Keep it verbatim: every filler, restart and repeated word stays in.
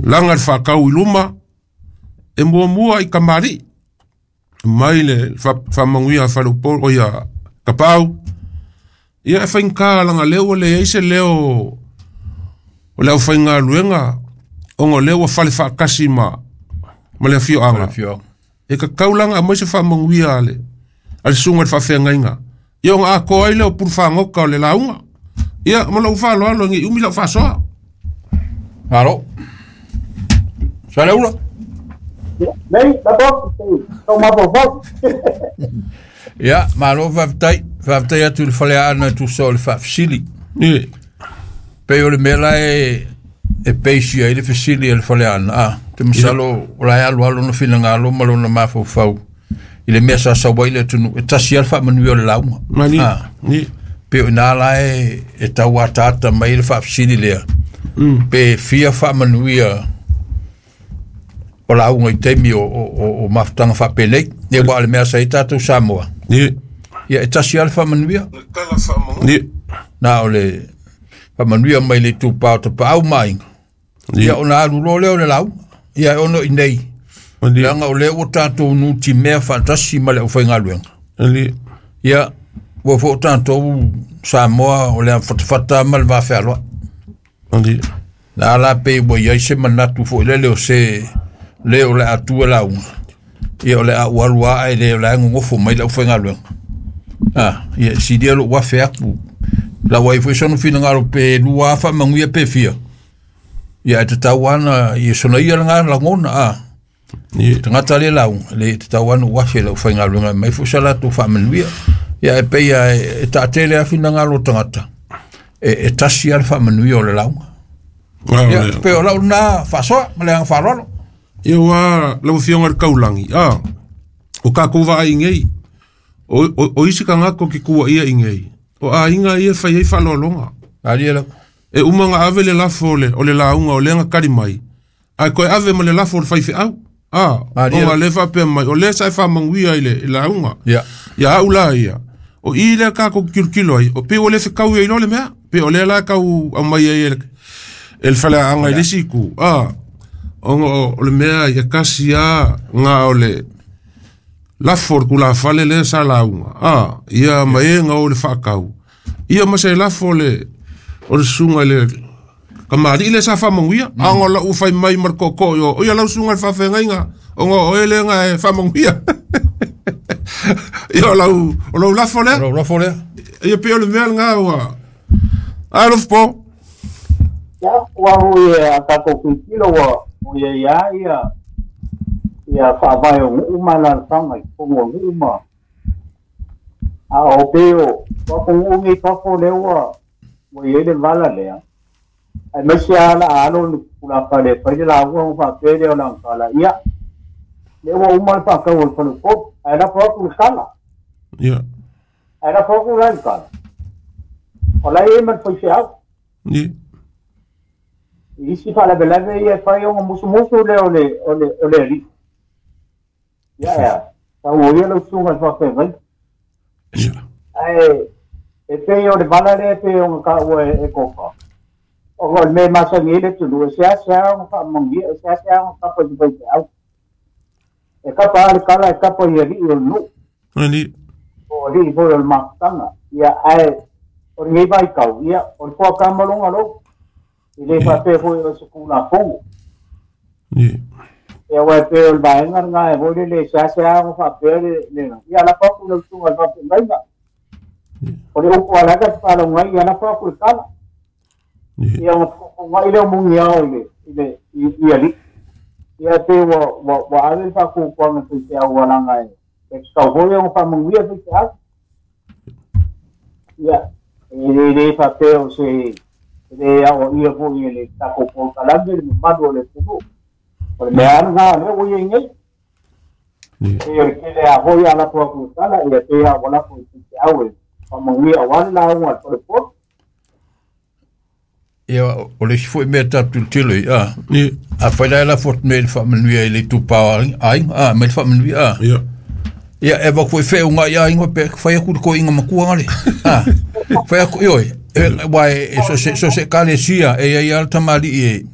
Laga le faakau i luma e muamua i kamali'i mai le faamanuia a faleupolu o ia Kapaau. Ia e faigata laga lea ua leai se leo o le aufaigaluega ona o lea ua fale faatasi ma ma le afioaga. E tatau laga aumai se faamanuia a le a le susuga i le faafeagaiga ia ona atoa ai lea o pulu fagota o le lauga. Ia ma lou faaaloalo nei umi lau faasoa. Malo. Saleula. Nei, labo, tau mafaufau. Ia, malo faafetai. Faafetai atu i le faleaana e tusa o le faafesili. Ie. Pei o le mea la e e peisi ai le fesili a le faleaana. A, te masalo o la e alualu na finagalo ma lona mafaufau i le mea sa sau ai le atunuu e tasi lava le faamanuia o le lauga. Mani. A, Ie. pe o ina la e e tau ataata mai le faafesili lea. Pe fia faamanuia o lauga i taimi o, o, o, o mafutaga faapenei. Ia ua o le mea sa i tatou Samoa. Ie. Ia e tasi lava le faamanuia. Ie. Na o le faamanuia mai le itupa o tapaau ma aiga. Ie. Ia ona alu loa lea o le lauga. Ia e ono i nei. Mani. Leaga o lea ua tatou nutimea faatasi ma le aufaigaluega. Mani. Ia ua foi o tatou Samoa o le afatafata ma le vafealoai. Mani. Na la pei ua iai se manatu foi lele o se le o le a tua lauga. Ia o le a ualu a e le o le a gogofo mai le aufaigaluega. Ah, ia silia lou afe atu. Lau ai foi sona finagalo pe lua faamanuia pe fia. Ia e tatau ana ia sona ia lena lagona a. Ie. Tagata le lauga, le tatau ana ou afe le aufaigaluega mai foi sa latou faamanuia. Ia e pei a e, e taatele a finagalo o tagata. E, e tasi a le faamanuia o le lauga. Ia, Ia pe o lau lena faasoa ma le aga faaaloalo. Ia ua lau afioga i le kaulagi a o tatou vaai nei o, o, o isi tagata o ke tuaia i nei o aiga ia e fai ai faaaloaloga. Alia lau. E uma ona ave le lafo o le, o le lauga o lea na kali mai ae toe ave ma le lafo o le faifeau. A, Malie. ona lea faapea mai o lea sa e faamanuia i le i lauga. Ia. Ia au la ia o i lea tatou tilotilo ai o pei ua le fekau ai loa le mea pei o lea la tau aumai ai e le e le faleaga i le isi itu a ona o o le mea ia kasi a na o le lafo o le tulafale lea sa lauga a ia ma e na o le faakau ia ma se lafo o le o le susuga i le kamali'i lea sa faamanuia a ona o lau fai mai ma le tootoo i o o ia lau susuga i le faafeagaiga ona o oe lea na e faamanuia. Ia o lau o lau lafo lea. O lau lafo lea. Ia pei o le mea lena ua alofa po. Ia, ua hui e a tatou tilotilo ua ua ia ia ia ia faavae o nuu ma alaalafaga i totonu o nuu ma a o pei o o atunuu nei fafo lea ua ua i ai le vala lea. Aemaise lava la a alo le tulafale e fai le lauga ona faapea lea o lana tala. Ia, lea ua uma le faatau o le faleupolu, ae lafo atu le tala. Ia. Ae lafo atu la le tala. O la e i ai ma le faifeau. Ia. I isi faalavelave ia e fai ona musumusu lea o le o le o le alii. Ia ea, tau o ia lau susuga i le faafeagaiga. Ia. Ae e pei o le vala lea e pei ona taua e, e Kofa. Ona o le mea e masani ai le atunuu, e seasea ona faamanuia, e seasea ona kapa i le faifeau. E kapa lava le tala e kapa i alii o le nuu. Mani. Po o alii foi o le mafutaga. Ia, ae o lenei vaitau, ia, o le fuata ma lona lou. E le faapea foi o se Tulafono. Ia. Ia, aua e pei o le vaega lena e foi lele e seasea ona faapea le, le, ia lafo atu i lau susuga i le faafeagaiga. O le upu a le ata te faalogo ai, ia lafo atu le tala. Ia. Ia ona fetuutuunai lea o muniao i le, i le, i, i alii. Ia pei ua, ua, ua ave le faatuatuaga i faifeau ua laga e, e tatau foi ona faamanuia faifeau. Ia, e le, le faapea o se, e le aoaia foi e le tatou polokalame le mamalu o le atunuu. O le mea lava lena o lea ua i ai nei. Ia. Pei o le tele a foi a lafo atu le tala, ia pei lava ua lafo i faifeau e faamanuia aua le lauga a le faleupolu. Ia o le isi foi mea tatou tilotilo i a. Ia. Afai la e lafo atu nei i le faamanuia i le itupa o aiga, a, mai le faamanuia a. Ia. Ia e avatu foi feauga i aiga pe fai atu le toeaina matua ngale. A, fai atu, ioi, e, uae e so se, so se ekalesia e iai lava le tamalii e